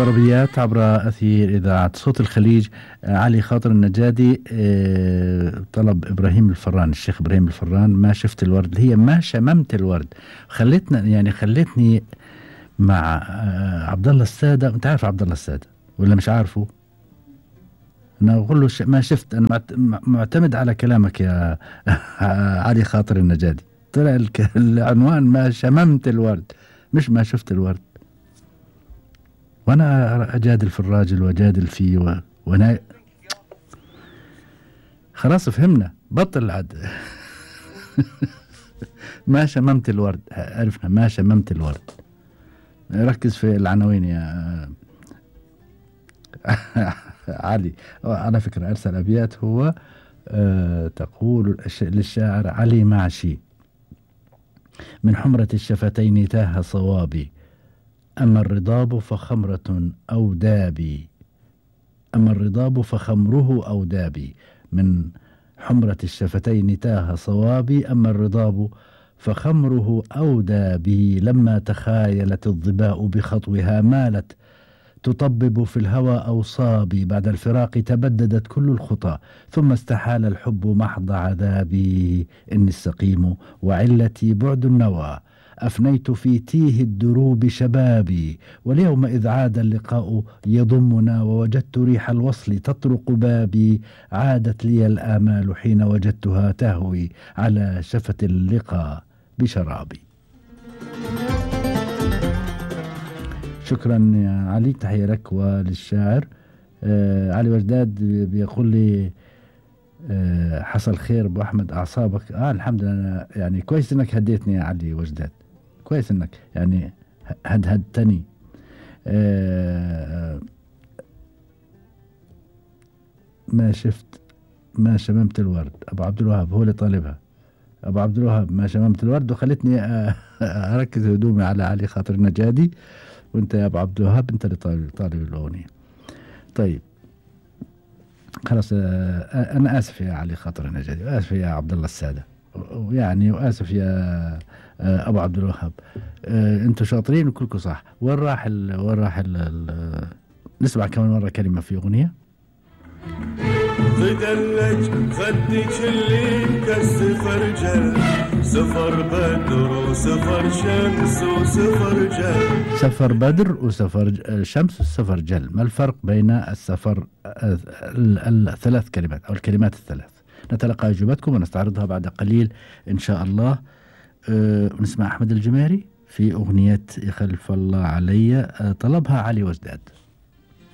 عربيات عبر أثير إذاعة صوت الخليج. علي خاطر النجادي. طلب إبراهيم الفران، الشيخ إبراهيم الفران، ما شفت الورد، هي ما شممت الورد. خلتني مع عبد الله السادة. أنت عارف عبد الله السادة ولا مش عارفه؟ أنا أقول له ما شفت. أنا معتمد على كلامك يا علي خاطر النجادي. طلع العنوان ما شممت الورد، مش ما شفت الورد. وانا اجادل في الراجل واجادل فيه وانا خلاص فهمنا، بطل عد. ما شممت الورد، عرفنا ما شممت الورد. ركز في العناوين يا علي. على فكرة ارسل ابيات هو. تقول للشاعر علي معشي: من حمرة الشفتين تاه صوابي، أما الرضاب فخمرة أو دابي. أما الرضاب فخمره أو دابي. من حمرة الشفتين تاه صوابي، أما الرضاب فخمره أو دابي. لما تخايلت الظباء بخطوها مالت تطبب في الهوى أوصابي. بعد الفراق تبددت كل الخطى، ثم استحال الحب محض عذابي. إني السقيم وعلتي بعد النوى، أفنيت في تيه الدروب شبابي. واليوم إذ عاد اللقاء يضمنا، ووجدت ريح الوصل تطرق بابي. عادت لي الآمال حين وجدتها تهوي على شفة اللقاء بشرابي. شكرا يا علي، تحية لك وللشاعر. علي وجداد بيقول لي حصل خير ابو احمد، اعصابك الحمد لله. يعني كويس انك هديتني يا علي وجداد، كويس انك يعني هدتني. ما شفت ما شممت الورد. ابو عبد الوهاب هو اللي طالبها. ابو عبد الوهاب ما شممت الورد، وخلتني اركز هدومي على علي خاطر النجادي. وانت يا ابو عبد الوهاب انت اللي طالب الاغنيه. طيب خلاص. انا اسف يا علي خاطر النجادي، واسف يا عبد الله الساده، ويعني واسف يا ابو عبد الوهاب. انتوا شاطرين وكلكم صح. وين راح نسمع كمان مره كلمه في اغنيه. غدلج خدك اللي كالسفر جل، سفر بدر وسفر شمس وسفر جل. سفر بدر وسفر شمس وسفر جل. ما الفرق بين السفر الثلاث كلمات أو الكلمات الثلاث؟ نتلقى أجوبتكم ونستعرضها بعد قليل إن شاء الله. نسمع أحمد الجماري في أغنية يخلف الله علي، طلبها علي وجداد.